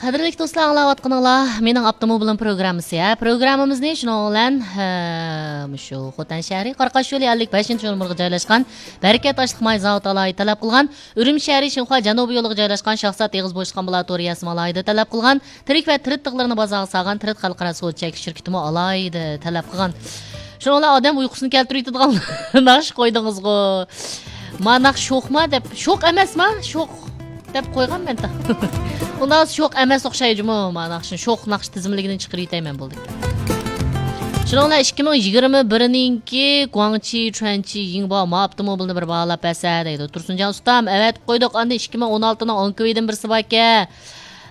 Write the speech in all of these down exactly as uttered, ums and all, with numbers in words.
قەدىرلىك دوستلار، ئاڭلاۋاتقىنىڭلار مېنىڭ ئاپتوموبىلىم پروگراممىسى. ھە، پروگراممىمىزنى شۇنىڭ بىلەن، ھە، مۇشۇ خوتەن شەھىرى قاراقاشيولى ئەللىك بەشىنچى نومۇرغا جايلاشقان بەرىكەت ئاشلىق ماي زاۋۇتى ئالاھىدە تەلەپ قىلغان، ئۈرۈمچى شەھىرى شىنخۇا جەنۇبىي يولىغا جايلاشقان شاھزات ئېغىز بوشلۇق ئامبۇلاتورىيەسىمۇ ئالاھىدە تەلەپ قىلغان، تىرىك ۋە تىرىت تىغلىرىنى بازارغا سالغان تىرىت خەلقئارا سودا چەكلىك شىركىتىمۇ ئالاھىدە تەلەپ قىلغان. شۇنىڭ بىلەن ئادەم ئۇيقۇسىنى كەلتۈرۈۋېتىدىغان ناخشا قويدىڭىزغۇ. ما ناخشا شوخما دەپ، شوق ئەمەسما؟ شوق دەپ قويغان مەن. ئۇنداق شوق ئەمەس ئوخشايدۇ جۇمۇ، ما ناخشىنى شوق ناخشا تىزىملىكىدىن چىقىرىۋېتەيمەن بولدى. شۇنىڭ بىلەن ئىككى مىڭ يىگىرمە بىرنىڭكى گۇاڭچى چۈەنچى يىڭباۋ ما ئاپتوموبىلنى بىر باھالاپ بەرسە دەيدۇ. تۇرسۇنجان ئۇستام، ئەۋەتىپ قويدۇق. ئاندىن ئىككى مىڭ ئون ئالتىنىڭ ئونكۈۋىدىن بىرسى باركەن.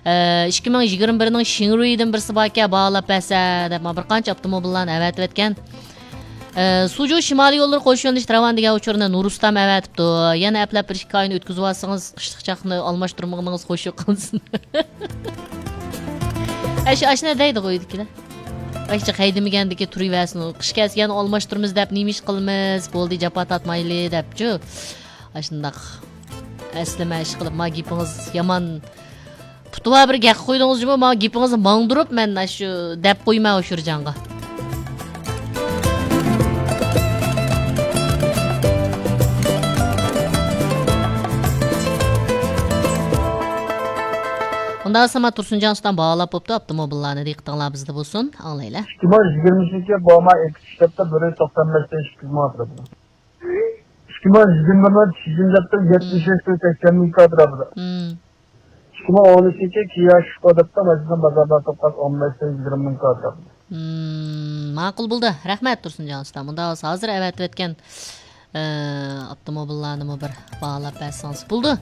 ئە، ئىككى مىڭ يىگىرمە بىرنىڭ شىڭرۇيدىن بىرسى باركەن، باھالاپ بەرسە دەپ، مانا بىر قانچە ئاپتوموبىللارنى ئەۋەتىۋەتكەن. ئە، سۇجۇ شىمالىي يوللىرى قوش يۆنىلىش راۋان دېگەن ئۇچۇرنى نۇرۇستام ئەۋەتىپتۇ. يەنە ئەپلەپ بىر ئىككى ئاينى ئۆتكۈزۈۋالسىڭىز، قىشلىق چاقنى ئالماشتۇرمىغىنىڭىز خوش يوق قىلسۇن. ئەش-، ئاشۇنى دەيدىغۇ ئۆيدىكىلەر. ئاشۇ ھەيدىمىگەندىكى تۇرۇۋەرسۇن. قىش كەلسە يەنە ئالماشتۇرىمىز دەپ نېمە ئىش قىلىمىز؟ بولدى، جاپا تارتمايلى دەپچۇ. ئاشۇنداق ئەسلىمە ئىش قىلىپ، ما گېپىڭىز يامان. پۇتىۋا بىر گەپ قويدىڭىز جۇمۇ، ما گېپىڭىزنى ماڭدۇرۇپ، مەن ئاشۇ دەپ قويما ئاشۇرجانغا. ئۇنداق بولسا ما تۇرسۇنجان ئۇستام باھالاپ بوپتۇ ئاپتوموبىللارنى، دىققىتىڭلار بىزدە بولسۇن، ئاڭلايلى. ئىككى مىڭ يىگىرمە ئۈچىنچى يىل بۇ ما ئېكس ئىشلەپتە بىر يۈز توقسان بەش ئىككى يۈز مىڭ ئاتىدۇ. ئىككى مىڭ يىگىرمە بىرنىڭ چىجىن دەپتۇ، يەتمىش ئۈچ سەكسەن مىڭ كاتىرا بىلەن. مم. ئىككى مىڭ ئون ئۈچىنچى كىيا شىكو دەپتۇ، ماشىنا بازاردا توققان ئون بەش يىگىرمە مىڭ كاتىرا بىلەن. مم، ماقۇل بولدى. رەھمەت، تۇرسۇنجان ئۇستا. مۇنداق بولسا، ھازىر ئەۋەتىۋەتكەن، ئە، ئاپتوموبىللارنىمۇ بىر باھالاپ بەرسىڭىز بولدى.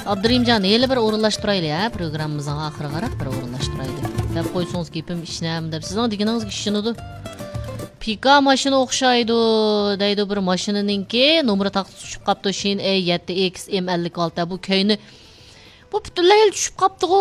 ئابدۇرېھىمجان، ھېلى بىر ئورۇنلاشتۇرايلى، ھە، پروگراممىمىزغا ئاخىرىغا بىر ئورۇنلاشتۇرايلى. دەپ قويسىڭىز گېپىم ئىشىنەم دەپ، سىزنىڭ دېگىنىڭىزگە ئىشىنىدۇ. پىكا ماشىنا ئوخشايدۇ، دەيدۇ بىر ماشىنىنىڭكى نومۇرى تاختىسى چۈشۈپ قاپتۇ، شىن ئەي يەتتە ئېكس ئېم ئەللىك ئالتە. بۇ كەينى، بۇ پۈتۈنلەي چۈشۈپ قاپتىغۇ،